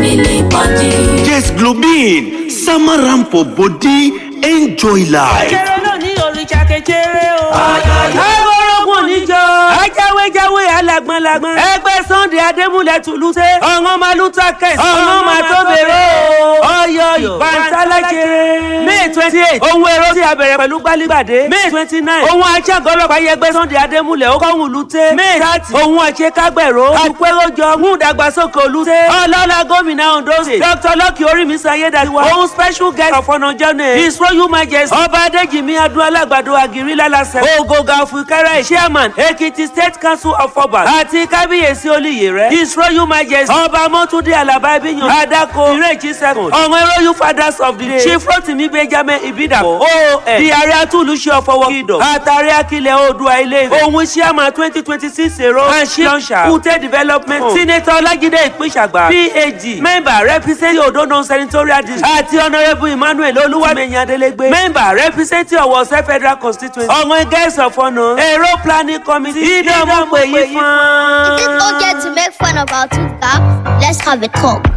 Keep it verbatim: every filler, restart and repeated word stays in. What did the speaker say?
Really punching. Yes, Globin, summer ramp for body, enjoy life. Kéré náà ní òrìṣà kékeré o. Agbórógùn níjọ. Ajáwéjáwé alágbọ́nlágbọ́n. Ẹgbẹ́ Sunday Adémúlẹ̀ Tùlùsẹ́. Ọ̀ràn máa lù tákẹ́sì. Ọ̀ràn máa tó bèrè o. Ọyọ ìbántálàjẹrẹ. May twenty eight. Ohun èrò tí a bẹ̀rẹ̀ pẹ̀lú gbálígbàdé. May twenty nine. Ohun aṣẹ́gun ọlọ́pàá yẹgbẹ́ Sunday Adémúlẹ̀ ó kọ́hún lùtẹ́. May thirty. Ohun àṣekágbẹ̀rọ. Àpéròjọ mú ìdàgbàsókè olùtẹ́. Ọlọ́lá gómìnà Ondo State. Dr Lucky Orímísọ Ayédáiwa. Ohun special guest of honour journey. His Royal Majesty. Ọba Adéjìmí Adún Alágbàdo Àgírí Lálásẹ̀. Ògògà Òfìkẹ́rẹ́ Chairman Ekiti State Council of Obas. Àti Kábíyèsí Olúyèrè. His Royal Majesty. Ọba Mọ́túndé Àlàbá Ibíyan. Adako Ìrèjì second. Ọ̀wọ́n Royal Fathers of the Day. Chief Rotimi Benjamin Ibidapo. O N. Di Ààrẹ Atúlùṣe ọ̀fọwọ́ Kingdom. Àtàrí Akilẹ̀ Oòduà Ilé Ifẹ̀. Òun Chairman twenty twenty six èrò. Àṣì Lọ́nṣà. Kùtẹ́ Development. Senator Ọlájídé Ìpínṣàgbà. PhD. Member representing Odo Non-Senatorial District. Àti Honourable Emmanuel Olúwàmẹ̀yìn Adélégbé. Member representing Ọ̀wọ̀ Ọ̀sẹ̀ Federal Constituency. Ọ̀wọ̀n Guest of Honour. Èrò Planning Committee. Ìdánwò pè yí fún. Is it okay to make fun of our two gaps? Let's have a talk.